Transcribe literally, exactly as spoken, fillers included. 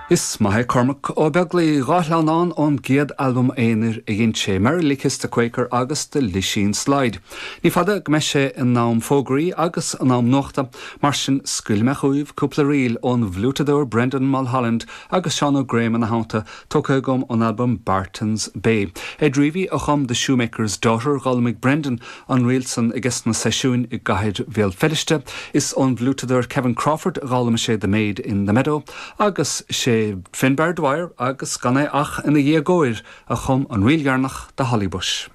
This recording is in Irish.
Is maith é Cormac Ó Beaglaoich dhá shleamhnán ón gcéad albam aonair a dhein sé Merrily Kiss the Quaker agus The Lisheen Slide. Ní fada go mbeidh sé in am fógraí agus in am nuachta, mar sin scaoilfidh mé chugaibh cúpla ríl ón bhfliútadóir Brendan Mulholland agus Seán Ó Graham ina theannta tógtha agam ón albam Barton's Bay. Ed Reavy a chum The Shoemaker's Daughter d'fhoghlaimigh Brendan an ríl san aige sna seisiúin i gcathair Bhéal Feirste, is ón bhfliútadóir Kevin Crawford a d'fhoghlaim sé The Maid in the Meadow agus sé Finbar Dwyer agus gan é ach ina dhéagóir a chum an ríl dheireanach The Holly Bush.